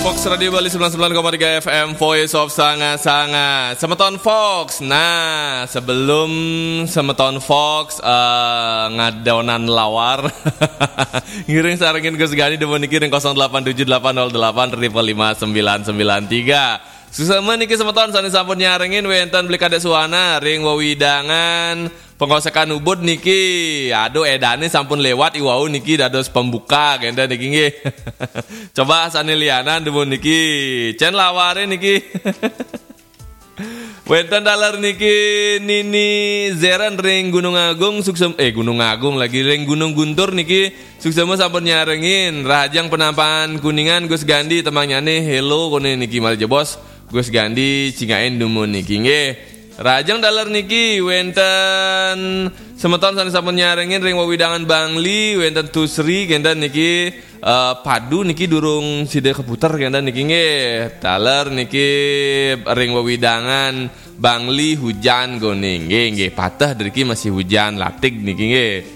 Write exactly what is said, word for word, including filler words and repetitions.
Fox Radio Bali sembilan sembilan koma tiga F M, Voice of Sanga-Sanga. Semeton Fox. Nah, sebelum semeton Fox eh, ngadonan lawar, ngiring sarengin Gus Gani dumun niki ring kosong delapan tujuh delapan nol delapan triple lima sembilan sembilan tiga. Suksma niki semeton sane sampun nyarengin, wenten Beli Kadek Suwana ring wewidangan Pengosekan Ubud niki. Aduh, edane sampun lewat iwau niki dados pembuka kenten niki nggih. Coba sane lianan dumun niki. Cen laware niki. Wenten taler niki Nini Zeren ring Gunung Agung, suksem eh Gunung Agung lagi, ring Gunung Guntur niki. Suksma sampun nyarengin. Rahajeng Penampakan Kuningan, Gus Gandi, temangnyane hello kone niki malih jebos. Gus Gandi cingakin dumun niki nggih. Rahajeng taler niki wenten semeton sane sampun nyarengin ring wewidangan Bangli, wenten Tusri kenten niki. Eh, padu niki durung sida keputer kenten niki nggih. Taler niki ring wewidangan Bangli hujan kone nggih, nggih, pateh driki masih hujan, latig niki nggih.